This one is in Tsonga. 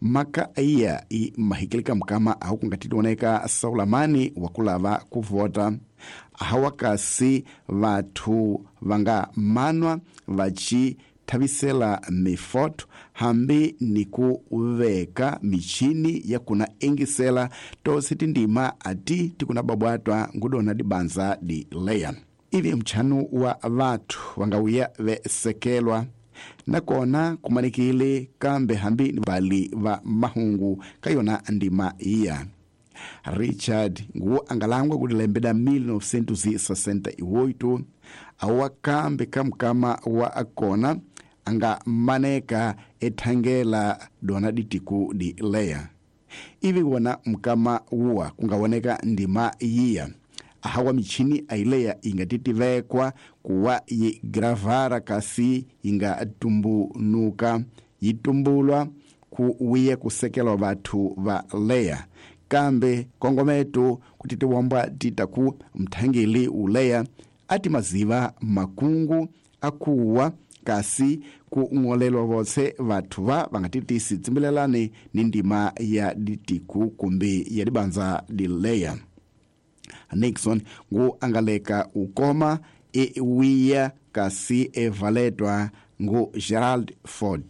Maka iya i mahikilika mukama ahu kungatitiwoneka saulamani wakulava kuvota ahawa kasi vathu vanga manwa vaci thavisela mifoto hambi ni ku veka michini ya kuna engisela tosi tindima ati tikuna babwatwa ngudona dibanza di leya. Ivi mtchanu wa vathu vangawuya vesekelwa nakona kumanikile kambe hambi ni vali va mahungu ka yona ndima iya. Richard nguwo angalangwa kuti lembe da 1968 awa kambe kamukama wa akona anga maneka ethangela dona ditiku di leya. Ivi wona mukama wuwa kungawoneka ndima yiya ahawa michini aileya ingatitivekwa kuwa yigravara kasi ingatumbunuka yitumbulwa kuwiye kusekelwa vathu va leya. Kambe kongometo kuti tiwombwa titaku mthangeli uleya ati maziva makungu akuwa kasi kung'olelwa votse vathu va vangatitisi tsimbelelani ni ndima ya ditiku kumbe ya dibanza dileya. Nixon ngu angaleka ukoma ewiya kasi evaletwa ngu Gerald Ford.